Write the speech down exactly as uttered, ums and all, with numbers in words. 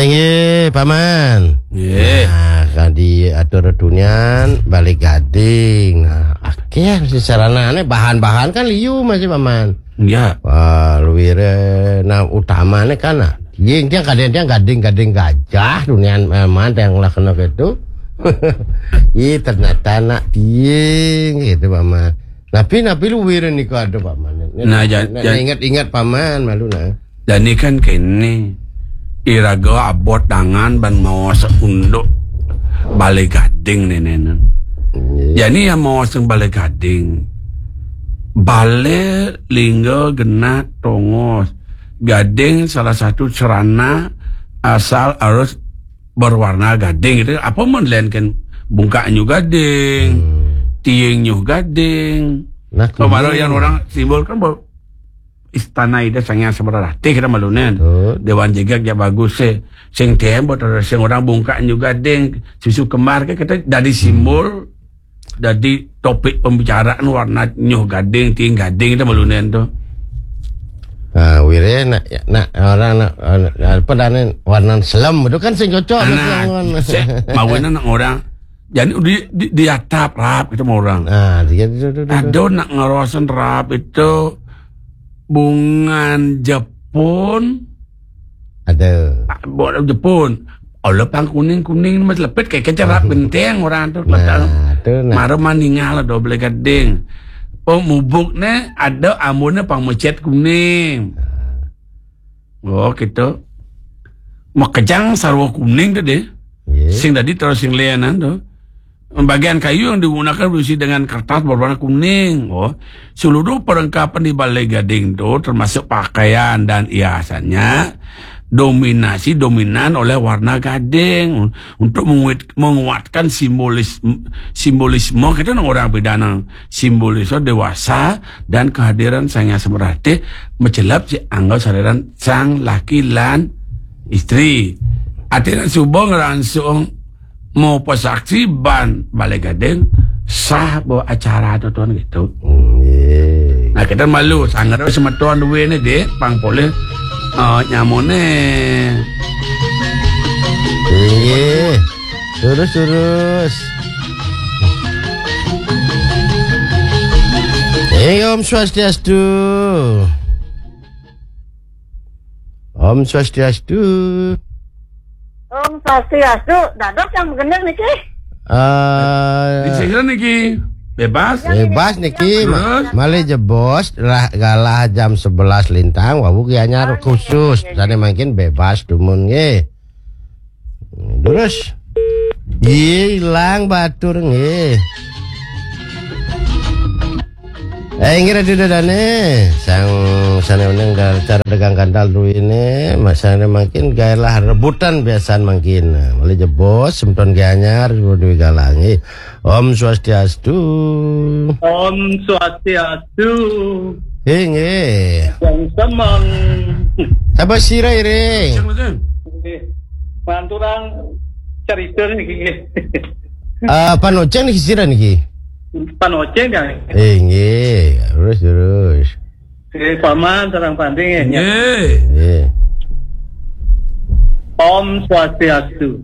Inggih, Paman. Nggih. Nah, kan diatur tunian Balé Gading. Nah, akéh sasaranané, bahan-bahan kan liu masih, Paman. Iya. Wah, luwiré, nah, utamané kan, nah, tiing, tiang kadén, tiang gading-gading gajah, tunian, eh, Paman, tiang lah kena gitu. Ih, ternyata nak tiing gitu, Paman. Napi, napi luwiré nika ada, Paman. Nah, ja-, nek ja-, inget-inget, Paman, malu, nah. Jani kan kéné, iraga abot tangan ban maos unduk Balé Gading nénénan. Iya. Jani ya maos Balé Gading. Balé lingga genah tongos. Gading salah satu sarana asal harus berwarna gading gitu. Apa men lain kan bungkak nyu gading, hmm, tiing nyu gading. Nah, pemaro kuning. Yang orang simbol kan bahwa Istana Ida Sang Hyang Semara Ratih kita malunan. Betul. Dewan Jegég ya bagus sih. Sing tembo terus sing orang bungkak nyu gading, susu kembar ke kita jadi simbol, jadi topik pembicaraan warna nyu gading, tiing gading kita malunan tuh. Nah, wiré nak, nak orang nak, nak apa dah ni, warna selem itu kan sing cocok. Nah, mawinan nak orang Jadi di, di, di atap rap itu mah orang. Nah, dia tu tu tu. Ada nak ngarosan rap itu bungan Jepun. Ada. Ah, bungan Jepun. Oleh pang kuning-kuning mas lepet kayak kecap rap genteng orang tu. Nah, tu nah. Mara maninggal ada Balé Gading. Oh, mubuk ne ada ambune pang mecet kuning. Nah. Oh, gitu. Makejang sarwa kuning tadi. Iya. Sing tadi terus sing lianan tuh. Bagian kayu yang digunakan berisi dengan kertas berwarna kuning. Oh, seluruh perlengkapan di Balé Gading itu termasuk pakaian dan hiasannya dominasi dominan oleh warna gading untuk menguat-, menguatkan simbolis-, simbolisme kita orang bedana simbolisme dewasa dan kehadiran Sang Hyang Semar Ratih macelep si angga sariran sang laki lan istri. Artinya suba ngerangsung mau pesaksi ban Balé Gading sah bawa acara tu tuan gitu. Hmm, iya. Nah, kita malu sangat semeton duwe ni dek pang polih, eh, nyamone. Iya. Terus terus. Eh, Om Swastiastu. Om Swastiastu. Om Swastiastu. Dadok yang bener niki. Eh, di sini niki bebas. Bebas niki. Terus? Malih jebos lah galah jam sebelas lintang, wau Gianyar khusus. Sane mangkin bebas dumun nggih. Terus. Nggih, ilang batur nggih. Eh, inggih Ratu Dadane, sang sane uneng dal cara dagang gandal duwine, masane mangkin gaelah rebutan biasan mangkin. Nah, malih jebos semeton Gianyar duwe galangi. Om Swastiastu. Om Swastiastu. Inggih. Yang semang. Sapa sira iring? Nggih. Manturang cerita niki nggih. Ah, panoceng niki sira niki? Panoceng kan? Eh, nggih. Terus, terus. Nggih, paman sareng panding nggih. Nggih. Nggih. Om Swastiastu.